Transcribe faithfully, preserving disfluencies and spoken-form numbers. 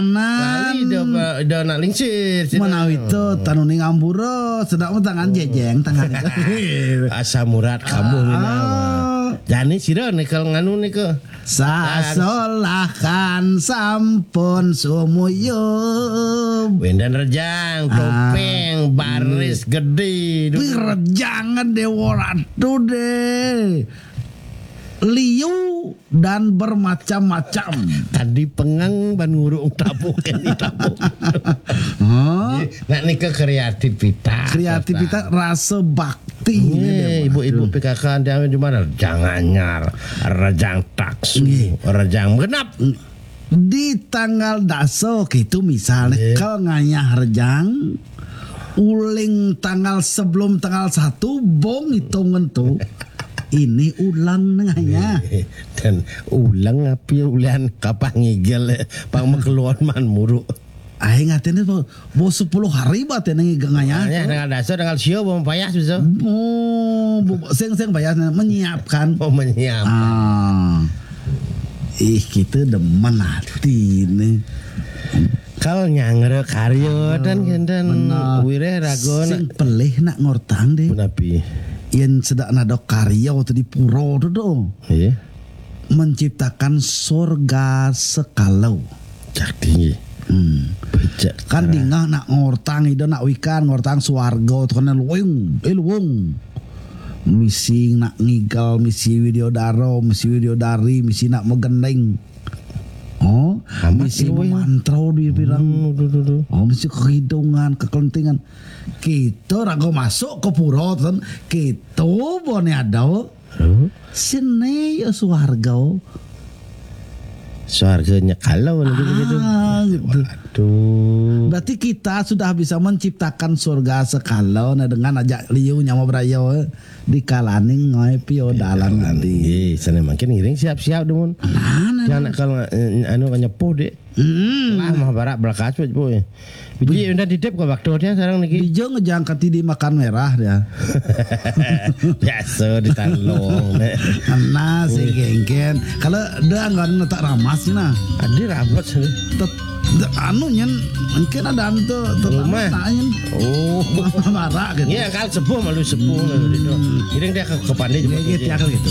Lali dah, dah nak lingsir. Menawi itu tanuning ambura, sedang tangan jejeng tangan. Asa murat kamu ni. Jani sira nika nganu nika. Sasolahkan sampun sumuyub. Wendan rejang, topeng, baris gede. Pi rejangan Dewa Ratu deh. Liu dan bermacam-macam. Tadi pengang ban ngurung tabuk ini tabuk. Hah? Nak nika kreativitas. Kreativitas, rasa bakti. Ibu-ibu P K K dia cuma rejang anyar, rejang taksu, rejang genap. Di tanggal dasa gitu misalnya, kalau ngayah rejang, uling tanggal sebelum tanggal satu, bong hitungan tu. Ini ulang nengahnya. Dan ulang api ulian kapang ngigel, pang makeluan man muruk. Aing atene bo, bo sepuluh hari ba atene ngigel ngayah. Ya, tanggal dasa, tanggal sio bo payas bisa. Oh, bo, sing sing payas menyiapkan. Oh, menyiap. Ah. Ih, kita demen hati nih. Kal nyangre karya dan kenten wireh raga. Sing pelih nak ngortang deh. Punapi? Yen sedak nadok karya tu di pura tu do. Iya. Menciptakan surga sekala. Cak tinggi. Hmm. Kan dingah nak ngortang ida nak wikan ngortang swarga tu kan luwung, eh luwung. Misi nak ngigal, misi widyodara, misi widyodari, misi nak megending. Oh, misi memantro di pirang. Hmm, duh, duh, duh. Oh, misi kehidungan, kekelentingan. Kita raga masuk ke pura ten, kita bone ada. Sini ya swarga. Swarganya kalau gitu. Ah, gitu. Waduh. Berarti kita sudah bisa menciptakan surga sekala nah dengan ajak liu nyama beraya, eh, di kalaning ngoe pio dalan nanti. Sana makin ngiring siap-siap demun. Nah, nah, nah. Kalau, eh, anu nyepuh dek. Hmm. Lah mah barak belakas wet boy. Biji udah titip ke waktu dia sekarang niki. Dija ngejangkat di makan merah dia. Biasa di Talong. Nah, si gengken. Kalau dia enggak ada tak ramas nah. Adi ramas. Anu nyen mungkin ada anu tuh rumah. Oh. Marah gitu. Iya, kalau sepuh malu sepuh. Jadi dia ke, ke pandai juga. Iya, gitu.